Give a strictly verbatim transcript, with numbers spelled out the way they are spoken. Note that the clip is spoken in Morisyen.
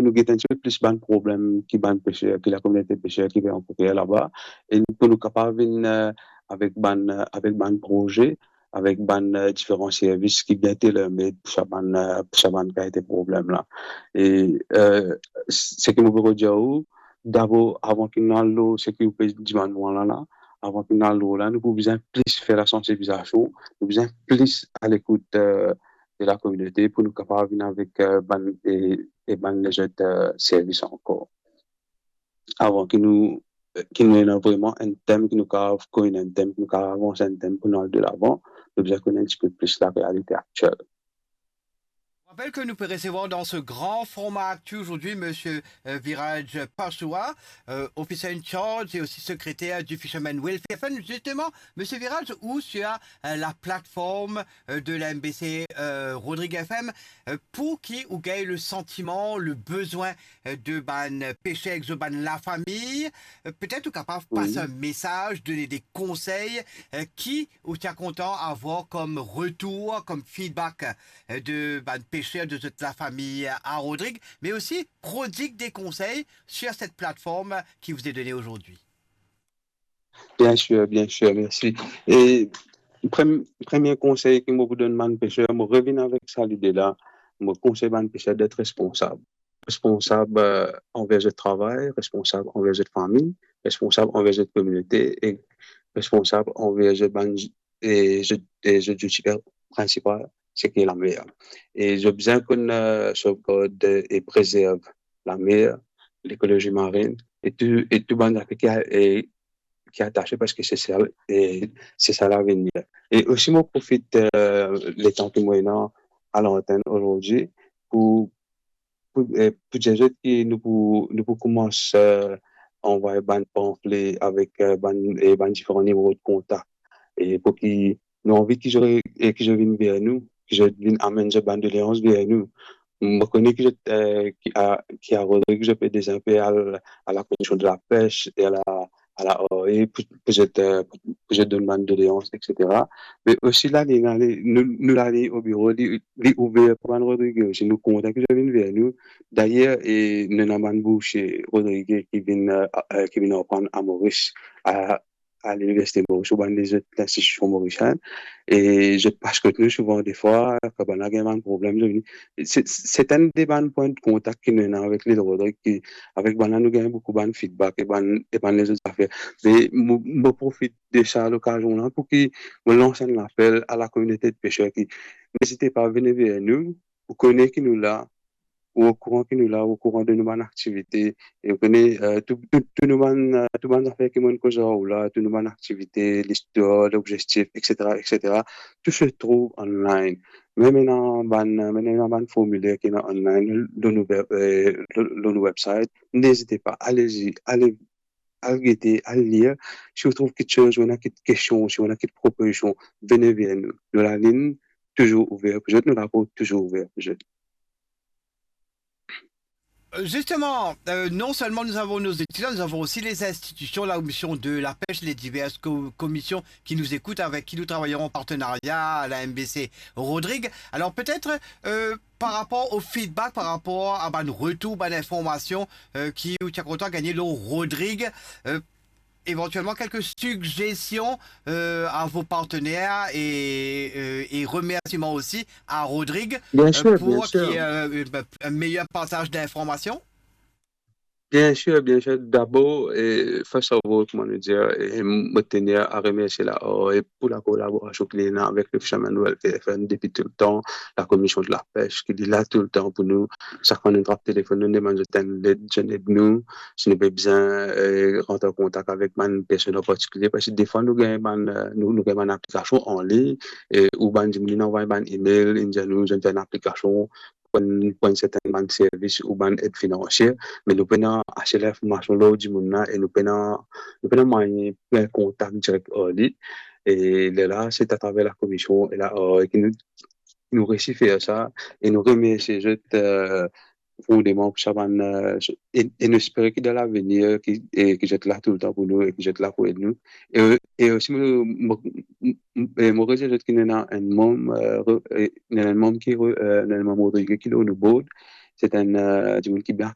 nou get enn tipe plis bann problem ki bann peser, ki lakominote peser ki pe rankontre laba, e pou nou kapav vinn, eh, avek bann, eh, avek bann proze, avek bann, eh, diferan servis ki bien tailor-made pou sa bann, eh, pou sa bann kalite problem la. E, eh, seki mo pe dir ou, dabor, avan ki nou al lor seki ou pe dimann mwa la la, avan ki nou al lor la, nou pou bizin plis fer lasansibilizasion, nou bizin plis alekout, eh, de lakominote pou nou kapav vinn avek, eh, bann, e, e bann lezot, eh, servis ankor. Avan ki nou, ki nou ena vreman enn tem ki nou kapav konn, enn tem ki nou kapav avans, enn tem pou nou al delavan, nou bizin konn enn tipe plis larealite aktiel. Je rappelle que nous pouvons recevoir dans ce grand format actu aujourd'hui Monsieur euh, Viraj Pashoua, euh, officer in charge et aussi secrétaire du Fisherman Welfare Fund. Justement, Monsieur Viraj, ou sur euh, la plateforme euh, de la M B C euh, Rodrigue F M, euh, pour qui ou gagne le sentiment, le besoin euh, de bann peser ek zot bann lafami, euh, petet ou kapav pas un message, donner des conseils, euh, ki ou ti a kontan avoir comme retour, comme feedback euh, de bann peser, de zot lafami à Rodrigue, mais aussi prodigue des conseils sur cette plateforme qui vous est donnée aujourd'hui. Bien sir, bien sir, mersi. E prem-, premie konsey ki mo pou donn bann peser, mo revinn avek sa lide la, mo konsey bann peser d'être responsab. Responsab, eh, anver zot travay, responsab anver zot fami, responsab anver zot kominote e responsab anver zot bann, e zot, e zot zouti prinsipal, seki lamer. E zot bizin konn, eh, sovgard e prezerv lamer, lekolozi marin, e tou, e tou bann zafer ki a-, e ki atase, parski se sa, e se sa lavenir. E osi mo profit, eh, letan ki mo ena a lantenn ozordi pou, pou, eh, pou dir zot ki nou pou, nou pou koumans, eh, anvway bann panfle avek, eh, bann, e bann diferan nimero de kontak. E pou ki nou anvi ki zot, e ki zot vinn ver nou, ki zot vinn amenn zot bann doleans ver nou. Mo kone ki zot, eh, ki a, ki a Rodrigue, zot pe deza pe al a la komision de lapes e a la, a la R A, pou, pou zot, eh, pou, pou zot donn bann doleans, et cetera. Me osi la, li, li, nou, nou la, li o biro, li, li ouver pou bann Rodrige osi. Nou kontan ki zot vinn ver nou. Dayer, e nou ena bann boursie Rodrige ki vinn, eh, eh, ki vinn aprann a Moris, a, a Liniversite Moris ou bann lezot linstitision morisienn, e zot pas kot nou souvan defwa, kan bann la gagn bann problem, zot vini. Se, se enn de bann pwin de kontak ki nou ena avek Lil Rodrig, ki, avek bann la nou gagn boukou bann feedback e bann, e bann lezot zafer. Me mo, mo profit de sa lokazion la pou ki mo lans enn lapel a lakominote de peser ki, nezite pa, vini ver nou, ou kone ki nou la, ou okouran ki nou la, ou okouran de nou bann aktivite, e ou kone, eh, tou, tou, tou nou bann, eh, tou bann zafer ki mo'nn koz ar ou la, tou nou bann aktivite, listwar, lobzektif, et cetera, et cetera. Tout se trouve online. Mem ena bann, mem ena bann formiler ki ena online lor nou web, eh, lor, lor nou website. Nezite pa, alezi, ale, al gete, al lir. Si ou trouv kiksoz, ou ena kit kestion, si ou ena kit propozision, vini ver nou. Nou lalinn touzour ouver pou zot, nou laport touzour ouver pou zot. Euh, justement, euh, non seulement nous avons nos étudiants, nous avons aussi les institutions, la commission de la pêche, les diverses co- commissions qui nous écoutent, avec qui nous travaillons en partenariat à la M B C Rodrigue. Alors peut-être euh, par rapport au feedback, par rapport à bann retour, bann information euh, ki ou ti a kontan gagn lor Rodrigue, euh, éventuellement quelques suggestions euh, à vos partenaires et, euh, et remerciements aussi à Rodrigue Bien euh, sûr, bien pour qu'il y ait sûr. euh, une- un meilleur partage d'informations. Bien sûr, bien sûr. D'abord, eh, first of all, kouma nou dir, eh, mo tenir a remersie la, oh, e pou lakolaborasion ki li ena avek le Fisherman Welfare Fund depi toultan, la komision de la pêche ki li la toultan pou nou. Sak fwa nou trap telefonn, nou demann zot enn led, zot ed nou. Si nou pe bizin, eh, rant an kontak avek bann personn an partikilie, parski defwa nou gagn bann, eh, nou, nou gagn bann aplikasion anlign, e ou bann dimoun inn anvway bann email, inn dir nou zot fer enn aplikasion pou enn, pou enn serten bann servis ou bann ed finansie, me nou pena ase linformasion lor dimoun la e nou pena, nou pena mwayin pran kontak direk ar li. E lerla, se atraver la komision e la, eh, ki nou, nou resi fer sa e nou remersie zot, eh, profondément pou sa bann, eh, e, e nou espere ki dan lavenir, ki, e ki zot la toultan pou nou e ki zot la pou ed nou. E, e osi, mo, mo, mo, e mo redir zot ki nou ena enn manm, eh, re- e nou ena enn manm ki re- eh, nou ena enn manm Rodrigue ki lor nou board. Se enn, eh, dimoun ki bien